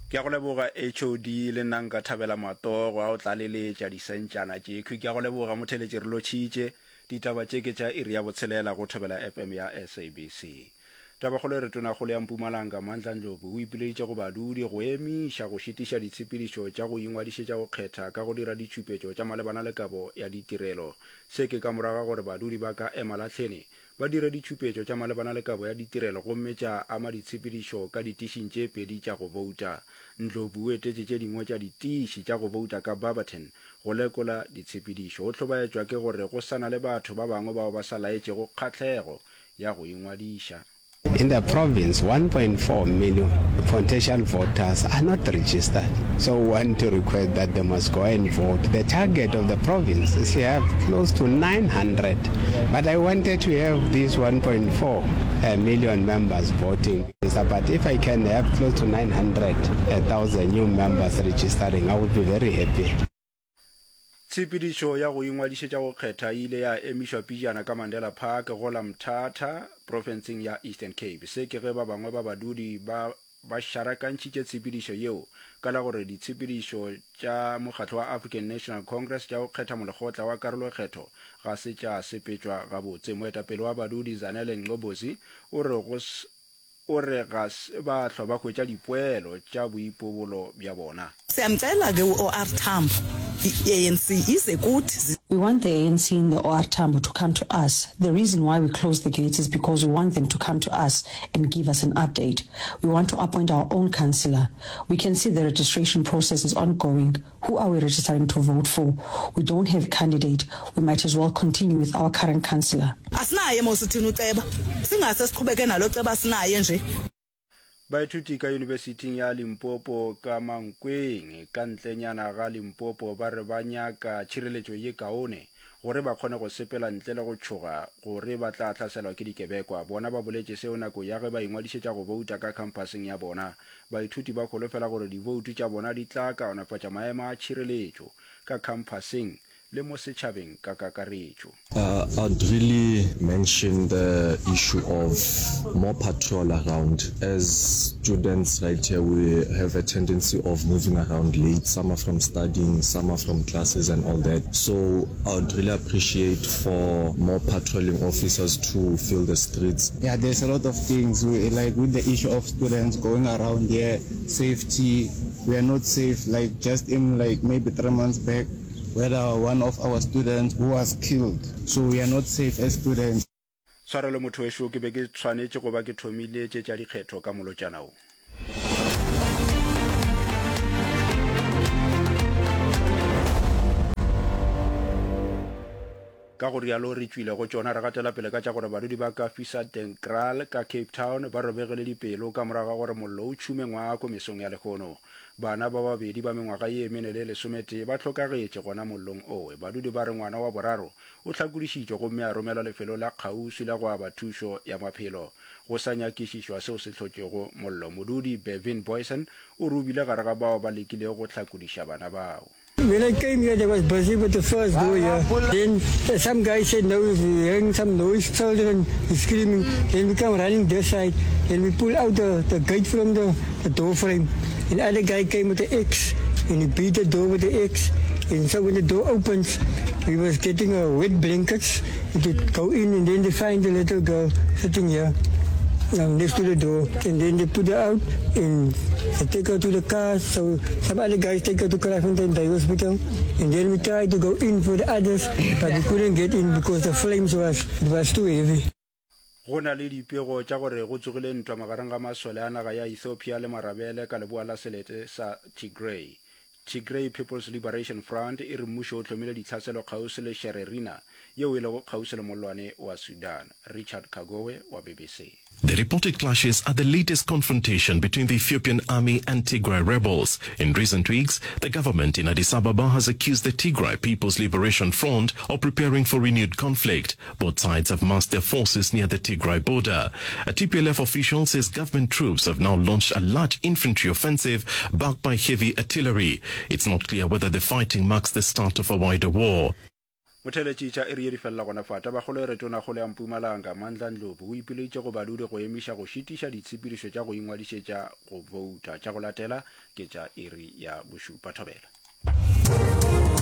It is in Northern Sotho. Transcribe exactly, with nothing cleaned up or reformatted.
Ke a go leboga HOD, le nna nka thabela matogo a o tlaleletša disentšana tše. Khwi ke a go leboga motheletši re lotšhitše. Ditaba tše ke tša iri ya botshelela go Thobela FM ya SABC. Tabakgolo e re Tonakgolo ya Mpumalanga Mandla Ndlovu o ipileditše go badudi go emiša go šitiša ditshepedišo tša go ingwadišetša go kgetha ka go dira ditšhupetšo tša malebana le kabo ya ditirelo. Se ke ka morago ga gore badudi ba ka Emalahleni ba dire ditšhupetšo tša malebana le kabo ya ditirelo gomme tša ama ditshepedišo ka ditišing tše pedi tša go bouta. Ndlovu o etetše tše dingwe tša ditiši tša go bouta ka Barberton go lekola ditshepedišo. O hlobaetšwa ke gore go sa na le batho ba bangwe bao ba sa laetšego kgahlego ya go ingwadiša. In the province, one point four million potential voters are not registered. So we want to request that they must go and vote. The target of the province is to have close to nine hundred, but I wanted to have these one point four million members voting. But if I can have close to nine hundred thousand new members registering, I would be very happy. Tshepedišo ya go ingwadišetša go kgetha e ile ya emišwa pejana ka Mandela Park go la Mthatha, profenseng ya Eastern Cape. Se ke ge ba bangwe ba badudi ba ba šarakantšhitše tshepedišo yeo ka la gore ditshepedišo tša mokgatlo wa African National Congress tša go kgetha molekgotla wa karolokgetho ga se tša sepetšwa gabotse. Moetapele wa badudi Zanele Ngcobozi o re go O re ga se ba hlwa ba hwetša dipoelo tša boipobolo bja bona. Siyamcela ke u-OR Tambo, i-ANC ize kuthi. We want the ANC in the OR Tambo to come to us. The reason why we closed the gates is because we want them to come to us and give us an update. We want to appoint our own councillor. We can see the registration process is ongoing. Who are we registering to vote for? We don't have candidate. We might as well continue with our current councillor. Asinaye mos thina uceba. Singase siqhubeke nalo ceba sinaye nje. Baithuti ka Yunibesithing ya Limpopo ka Mankweng ka ntlenyana ga Limpopo ba re ba nyaka tšhireletšo ye kaone gore ba kgone go sepela ntle le go tšhoga gore ba tla hlaselwa ke dikebekwa. Bona ba boletše seo nako ya ge ba ingwadišetša go bouta ka khamphaseng ya bona. Baithuti ba holofela gore diboutu tša bona di tla kaonafatša maemo a tšhireletšo ka khamphaseng le mo setšhabeng ka kakaretšo. I'd really mention the issue of more patrol around. As students right here we have a tendency of moving around late, some are from studying, some are from classes and all that. So I'd really appreciate for more patrolling officers to fill the streets. Yeah, there's a lot of things we, like with the issue of students going around here, safety, we are not safe, like just in like maybe three months back, whether one of our students who was killed, so we are not safe as students. Tshwarelo motho wešo, ke be ke tshwanetše go ba ke thomile tše tša dikgetho ka molotšana wo. Ka go rialo re tšwile go tšona re gatela pele ka tša gore badudi ba ka Fisadenkraal ka Cape Town ba robegile dipelo ka morago ga gore mollo o tšhume ngwako mesong ya lehono. Bana ba babedi ba mengwaga ye mene le lesometee ba hlokagetše gona mollong owe. Badudi ba re ngwana wa boraro o hlakodišitšwe gomme a romelwa lefelong la kgauswi la go aba thušo ya maphelo. Go sa nyakišišwa seo se hlotšego mollo. Modudi Bevin Boysen o re o bile gare ga bao ba lekilego go hlakodiša bana bao. When I came here, they was busy with the first door here. Then some guy said, no, we're hearing some noise, children screaming. Then we come running this side, and we pull out the, the gate from the, the door frame. And other guy came with the axe, and he beat the door with the axe. And so when the door opens, we was getting a wet blankets to go in, and then they find the little girl sitting here. Um, next to the door, and then they put her out and they take her to the car. So some other guys take her to Kraaifontein Day Hospital, and then we tried to go in for the others, but we couldn't get in because the flames was, it was too heavy. Go na le dipego tša gore go tsogile ntwa magareng ga masole a naga ya Ethiopia le marabele ka leboa la selete sa Tigray. Tigray People's Liberation Front e re mmušo o hlomile ditlhaselo kgauswi le Shererina, yeo e lego kgauswi le mollwane wa Sudan. Richard Kagowe wa BBC. The reported clashes are the latest confrontation between the Ethiopian army and Tigray rebels. In recent weeks, the government in Addis Ababa has accused the Tigray People's Liberation Front of preparing for renewed conflict. Both sides have massed their forces near the Tigray border. A T P L F official says government troops have now launched a large infantry offensive backed by heavy artillery. It's not clear whether the fighting marks the start of a wider war. Motheeletši tša iri ye di felela gona fa. Tabakgolo e re Tonakgolo ya Mpumalanga, Mandla Ndlovu, o ipileditše go badudi go emiša go šitiša ditshepedišo tša go ingwadišetša go bouta. Tša go latela ke tša iri ya bošupa. Thobela.